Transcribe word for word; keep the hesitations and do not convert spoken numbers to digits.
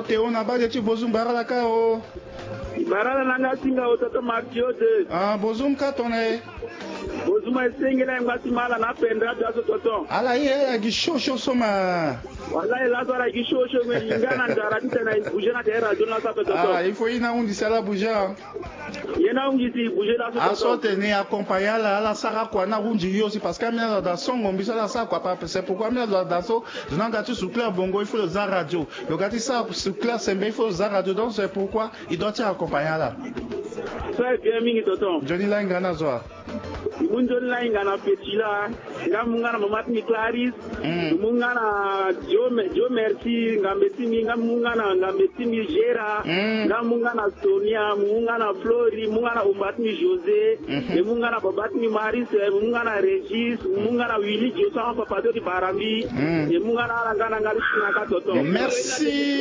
Te ona bade ti bozum barala ka o. Barala na nga singa o toto martio de. Ah, bozum ka tone. Bozum e senge na ngba ti mala na pendra da so toto. Ala ye ala gi show show so ma. Wala e la so ala gi show show me yinga na ndara ti tena bouger na te radio na sa toto. Ah, il faut ina undi sala bouger. Ye na undi si bouger da so toto. Aso tene accompagner ala ala sara kua na undi yo si parce que amina da songo mbi so ala sara kua pa c'est pourquoi amina da so. Zo na ga ti sukla bongo il faut lo za radio. Lo ga ti sara sukla sembe il faut lo za radio donc c'est pourquoi il doit ti accompagner ala. So e bien mingi toto. Nzoni lainga na zo a. Mu nzoni lainga na petit la. Nga mu nga na mama ti mi clarisse. Mu nga na dio merci ngambe ti mi nga mu nga na ngambe ti mi gera. Nga mu nga na sonia mu nga na flori mu nga na omba ti mi josé. E mu nga na baba ti mi marise mu nga na régis mu nga na willy josan papa to ti barambi. E mu nga na ala nga na nga li ti na ka toto. Merci.